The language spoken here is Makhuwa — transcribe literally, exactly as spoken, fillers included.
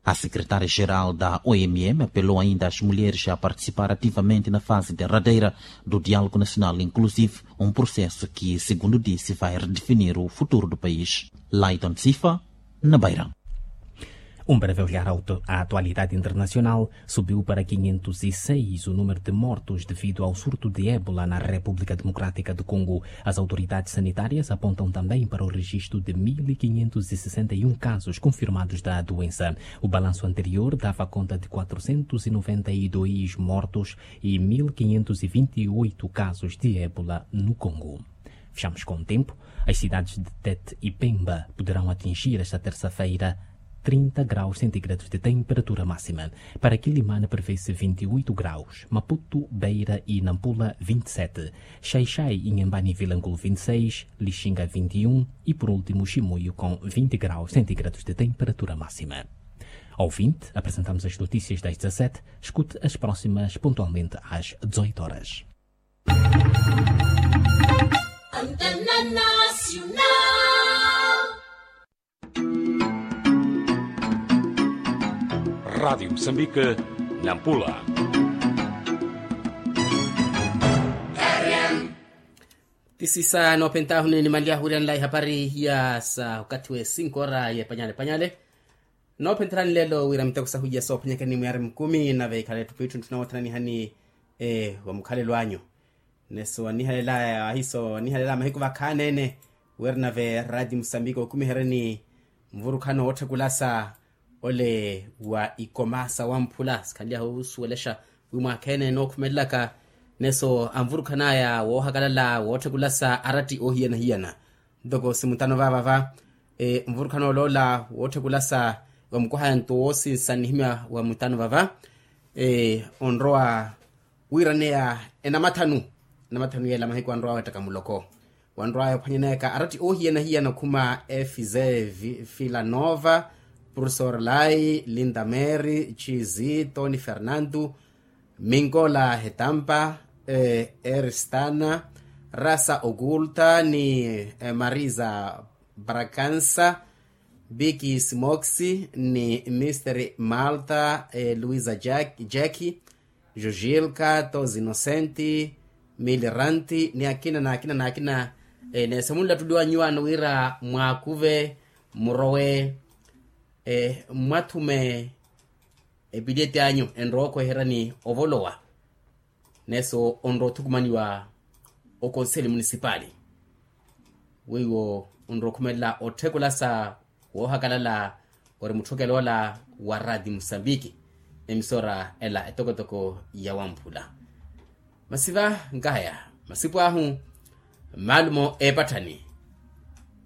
A secretária geral da omm apelou ainda as mulheres a participar ativamente na fase derradeira do diálogo nacional inclusivo, um processo que segundo disse vai redefinir o futuro do país. Laiton sifa, na bairan. Um breve olhar à atualidade internacional. Subiu para quinhentos e seis o número de mortos devido ao surto de ébola na República Democrática do Congo. As autoridades sanitárias apontam também para o registro de mil quinhentos e sessenta e um casos confirmados da doença. O balanço anterior dava conta de quatrocentos e noventa e dois mortos e mil quinhentos e vinte e oito casos de ébola no Congo. Fechamos com o tempo. As cidades de Tete e Pemba poderão atingir esta terça-feira trinta graus centígrados de temperatura máxima. Para Quilimane prevê-se vinte e oito graus, Maputo, Beira e Nampula vinte e sete, Xai-Xai, Inhambane e Vilanculo vinte e seis, Lixinga vinte e um e, por último, Chimoio com vinte graus centígrados de temperatura máxima. Ouvinte, apresentamos as notícias das dezassete. Escute as próximas pontualmente às dezoito horas. Antena Nacional. Rádio Moçambique, Nampula. Tisisa noopentahuni nimanlyahuryanla ihapari ya sa okathi we cinco ora ye panyale panyale. Noopentherani lelo wira miteko sahu iya soophwanyakani mwiari mukumi nave ikhale etthu pitthu ntthu nawathananihani wa mukhalelo anyu. Neso anihalela ahiso anihalela mahiku vakhaneene wira nave radi musambiki okumiheryeni nvurukhano wootthekulasa ole wa ikoma sawamphula sikhanlyaha osuwelexa wi mwakheene nookhumelelaka. Neso anvurukhanaya woohakalala wootthekulasa aratti oohiyana-hiyana ntoko simutano vaavava nvurukhano oloola wootthekulasa wa mukwahaya nto woosinsa nnihimya wa mutano vava onrowa wiiraneya enamathanu enamathanu yeela mahiku anrowa weettaka muloko wanrwaya ophwanyaneyaka aratti oohiyana-hiyana okhuma efize filanova, professor lai, linda mary, chizi, tony fernando, mingola hetampa, eristana, rasa okulta ni marisa, brakansa, biki simoksi ni misteri malta, luisa jaki, jujilka, tozi inosenti, miliranti ni akina n'akina n'akina. Neeso munlattuliwa nyuwaano wira mwaakuve murowe, mmwathume epiliyeti anyu enrowa okweheryani ovolowa. Neeso onrowa othukumaniwa okonseli munisipali weiwo onrowa okhumelela otthekulasa woohakalala ori mutthukeloola wa radi musambiki. Emisora ela etokotoko ya wamphula masiva nkaya masipu ahu, mmalumo eepatthani